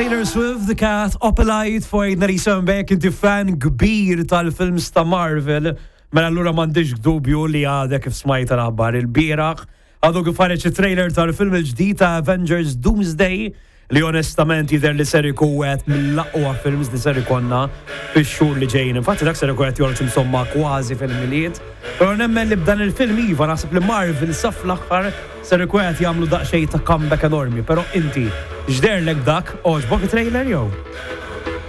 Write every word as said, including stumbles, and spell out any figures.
Taylor Swift, The Cat, Opalite, fuq ninety-seven inti fan kbir tal-films ta' Marvel, mela allura m'għandix dubju li għadek kif smajt l-aħbar il-bieraħ. Għadu kif ħareġ trailer tal-film il-ġdid ta' Avengers Doomsday, li onestament jidher li ser ikun wieħed mill-aqwa films li ser ikollna fix-xhur li ġejjin. Infatti dak ser ikun qed joħroġ insomma kważi fil-Milied. Però nemmen li b'dan il-film, iva, naħseb li Marvel sa fl-aħħar ser ikun qed jagħmlu daqsxejn ta' comeback enormi. Però inti x'deherlek dak? Għoġbok trailer jew?